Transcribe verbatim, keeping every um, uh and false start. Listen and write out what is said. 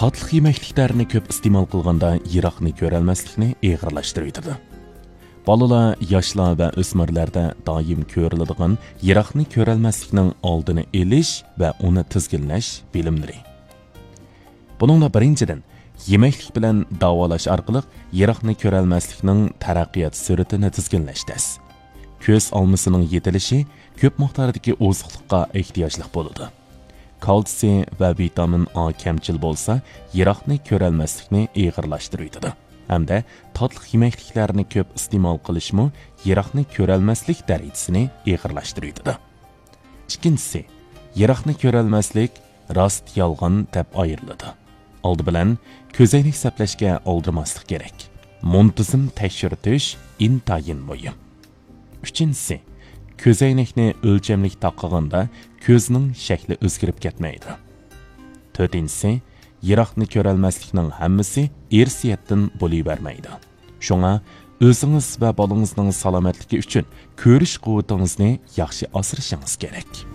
تاتلىق يېمەكلىكلەرنى كۆپ ئىستېمال قىلغاندا يىراقنى كۆرەلمەسلىكنى ئېغىرلاشتۇرۇۋېتىدۇ. بالىلار، ياشلار ۋە ئۆسمۈرلەردە دائىم كۆرۈلىدىغان يىراقنى كۆرەلمەسلىكنىڭ ئالدىنى ئېلىش ۋە ئۇنى تىزگىنلەش بىلىملىرى. بۇنىڭدا بىرىنچىدىن، يېمەكلىك بىلەن داۋالاش ئارقىلىق يىراقنى كۆرەلمەسلىكنىڭ تەرەققىيات سۈرئىتىنى تىزگىنلەش تەس. كۆز ئالمىسىنىڭ يېتىلىشى كۆپ مىقداردىكى ئوزۇقلۇققا ئېھتىياجلىق بولىدۇ. كالتسىي ۋە ۋىتامىن ئا كەمچىل بولسا، يىراقنى كۆرەلمەسلىكنى ئېغىرلاشتۇرۇۋېتىدۇ. ھەمدە تاتلىق يېمەكلىكلەرنى كۆپ ئىستېمال قىلىشمۇ يىراقنى كۆرەلمەسلىك دەرىجىسىنى ئېغىرلاشتۇرۇۋېتىدۇ. ئىككىنچىسى، يىراقنى كۆرەلمەسلىك راست، يالغان دەپ ئايرىلىدۇ. ئالدى بىلەن كۆزەينەك سەپلەشكە ئالدىرىماسلىق كېرەك. مۇنتىزىم تەكشۈرتۈش ئىنتايىن مۇھىم. ئۈچىنچىسى، كۆزەينەكنى ئۆلچەملىك تاقىغاندا كۆزنىڭ شەكلى ئۆزگىرىپ كەتمەيدۇ. تۆتىنچىسى، يىراقنى كۆرەلمەسلىكنىڭ ھەممىسى ئىرسىيەتتىن بولۇۋەرمەيدۇ. شۇڭا ئۆزىڭىز ۋە بالىڭىزنىڭ سالامەتلىكى ئۈچۈن كۆرۈش قۇۋۋىتىڭىزنى ياخشى ئاسرىشىڭىز كېرەك.